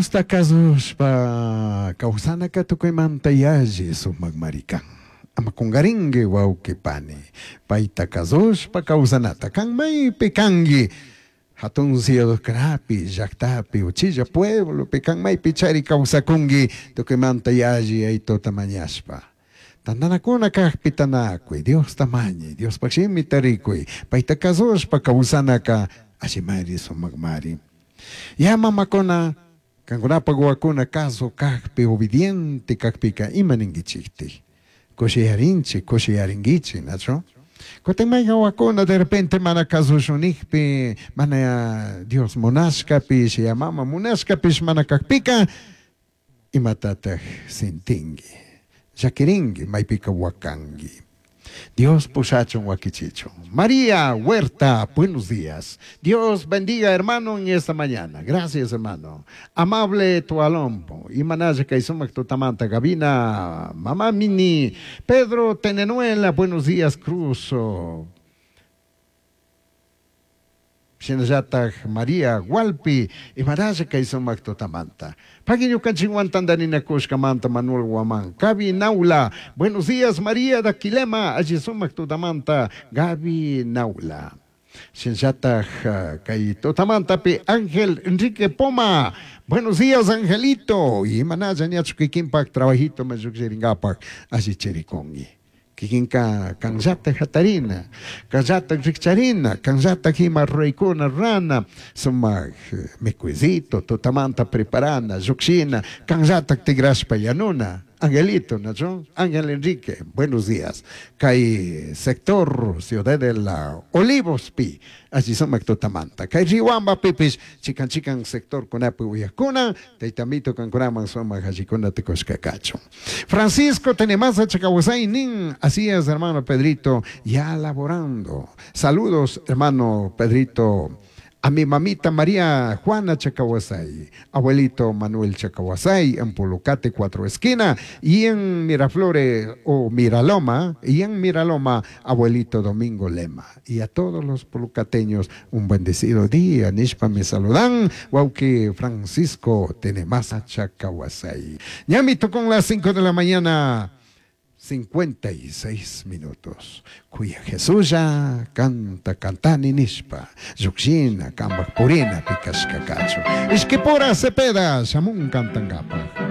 Diosta kazushpa kawsanaka tukuymanta yalli sumakmari kan. Ama kungarinki wawqi pani, payta kazushpa kawsanata kan maypi kanki hatun ciudadkunapi, llaktapi, uchilla pueblopi kan maypi chari kawsakunki tukuymanta yalli yaytuta mañashpa. Tantanakuna kakpi tanakuy, Diosta mañay, Diospaj shimita rikuy, payta kazushpa kawsanaka allimari sumakmari. Ya mamakuna, kankunapak wawakuna kazu kakpi, obediente kakpika ima ninkichiktik? Kushiyarinchik, kushiyarinkichik, nachu? Kutin mayqa wawakuna de repente mana kazushun nijpi, mana Dios munashkapish, ya mama munashkapish mana kakpika, imatataj sintinki? Llakirinki, maypika wakanki. Dios pushachun wakichichun. María Huerta, buenos días. Dios bendiga, hermano, en esta mañana. Gracias, hermano. Amable Tualompo. Imanaya kay sumak tutamanta. Gabina, Mamá Mini. Pedro Tenenuela, buenos días, Cruz. Shinallataj María Hualpi, imaralla kay sumak tutamanta. Pagui ñukanchikwan tantarinakushkamanta Manuel Guamán. Gaby Naula, buenos días María Daquilema, alli sumak tutamanta Gaby Naula. Shinallataj kay tutamantapi Ángel Enrique Poma, buenos días Angelito. Imanalla ñachu kikinpak trabajito mayukshirinkapak alli chirikunki. Kikinka kanllata hatarina, kanllata rikcharina, kanllata ima ruraykuna rurana, sumak mikuycito tutamanta preparana, llukshina, kanllata tigrashpa yanuna. Angelito, ¿no? Ángel Enrique, buenos días. Kay sector Ciudad de la Olivos pi, allí sumak tutamanta. Kay Riwamba pipis, chikan chikan sector kunapi uyakuna, taytamito kankunaman sumak allikuna tikushka kachun. Francisco Tenemasa Chacawasay nin, así es, hermano Pedrito, ya laborando. Saludos, hermano Pedrito. A mi mamita María Juana Chacahuasay, abuelito Manuel Chacahuasay en Pulucate Cuatro Esquina y en Miraflores o Miraloma, y en Miraloma, abuelito Domingo Lema. Y a todos los pulucateños un bendecido día. Nishpa me saludan, Wauki Francisco Tenemasa Chacahuasay. Ñamito con las 5 de la mañana. 56 minutos. Kuya Jesulla canta cantani nishpa. Llukshina kambak purina pikashka kachu. Ishkipura Cepeda shamun cantankapaj.